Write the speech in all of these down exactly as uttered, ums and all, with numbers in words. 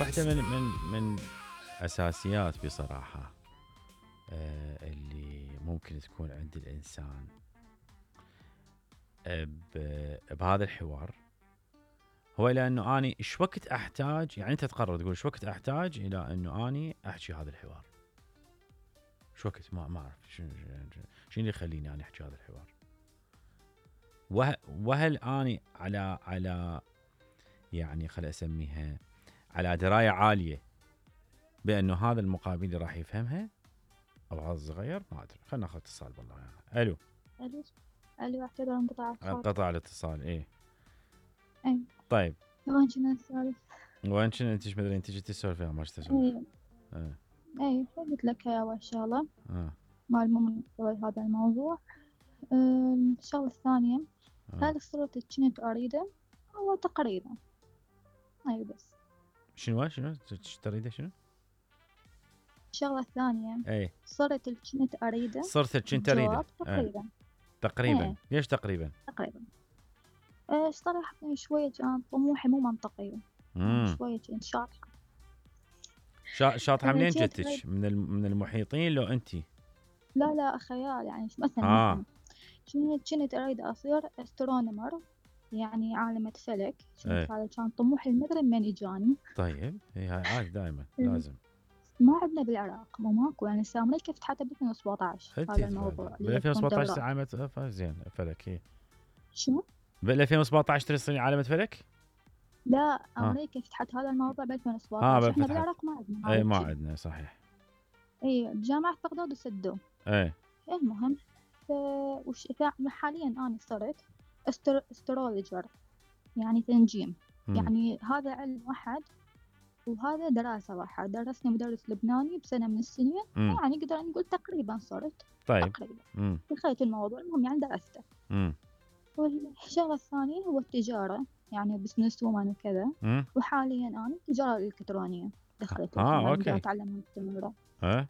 واحدة من من من اساسيات بصراحة آه اللي ممكن تكون عند الانسان بهذا الحوار هو الى انه اني ايش وقت احتاج، يعني انت تقرر تقول ايش وقت احتاج الى انه اني احكي هذا الحوار. ايش وقت ما ما اعرف شنو شنو اللي يخليني اني احكي هذا الحوار. وه وهل اني على على يعني خل اسميها على درايه عاليه بانه هذا المقابل اللي راح يفهمها او هذا الصغير، ما ادري. خلينا ناخذ اتصال بالله يعني. الو الو الو اعتذر انقطاع الاتصال. انقطع الاتصال. ايه اي طيب وين كنا نسولف؟ وين كنا انت مدري انت جيتي تسولفي ما تسولف. اي ايه اي قلت لك يا اول شغله اه مال مو هذا الموضوع. أم، الشغله الثانيه اه هل الصورة اللي كنت اريده هو تقريبا اي بس. شنو شنو تريده شنو؟ الشغله الثانيه ايه صرت اللي كنت اريده صرت كنت اريده. الجواب ايه تقريبا. تقريبا. ايه ليش تقريبا؟ تقريبا. أه صراحة شوية كان طموحي مو منطقي، يعني امم شوية كنت شاطحة. شا... شاطحه أه منين كنت أريد. جتك؟ من الم... من المحيطين لو انت؟ لا لا خيال، يعني مثلا اه مثلا كنت كنت أريد أصير أسترونومر، يعني عالمة فلك. كنت ايه هذا كان طموحي المدري من إجاني. طيب ايه هاي عادي دائما لازم. ما عندنا بالعراق، مو ماكو، يعني هسه أمريكا فتحتها ب ألفين وسبعطعش انت هذا الموضوع بال اللي هي ألفين تكون وسبعطعش دورات. عالمة ف- زين فلك. ايه شنو؟ بال ألفين وسبعطعش تريد عالمة فلك؟ لا ها أمريكا فتحت هذا الموضوع ب ها ألفين وسبعطعش، بل إحنا فتحت. بالعراق ما عندنا هذا ايه ما الشيء. عندنا صحيح. إيه جامعة بغداد وسدوه. ايه المهم ف... وش... ف- حاليا أنا صرت استر... استرولوجر، يعني تنجيم. امم يعني هذا علم واحد وهذا دراسة واحد، درسني مدرس لبناني بسنة من السنين. امم يعني نقدر نقول تقريبا صرت طيب. تقريبا امم دخلت الموضوع. المهم يعني درسته. امم والشغلة الثانية هو التجارة، يعني بزنس وومن وكذا. امم وحاليا أنا التجارة الإلكترونية دخلت ها الحين قاعدة اوكي. أتعلم مستمرة. ها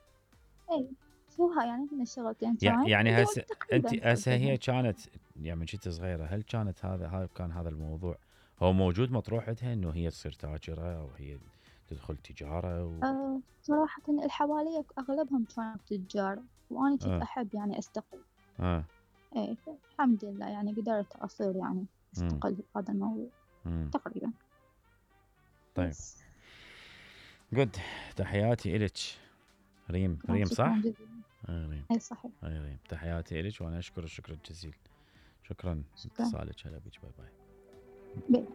أي سوها يعني من الشغلتين يع- كانت يعني هسه انت تقريبا هسه وصلت لها. هي كانت يعني من كنت صغيره، هل كانت هذا هذا كان هذا الموضوع هو موجود مطروح عندها انه هي تصير تاجره او هي تدخل تجاره و... أه صراحة اللي حواليا أغلبهم كانوا تجار، وأنا كنت اه أحب يعني أستقل. اه إيه الحمد لله يعني قدرت أصير يعني امم أستقل بهذا الموضوع امم تقريبا. طيب بس جود. تحياتي إلك ريم. آه، ريم شكرا صح؟ جزيلا. آه ريم. أي صحيح. آه ريم تحياتي إلك وانا اشكر الشكر الجزيل. شكرا شكرا. اتصالك. هلا بيك. باي باي. بي.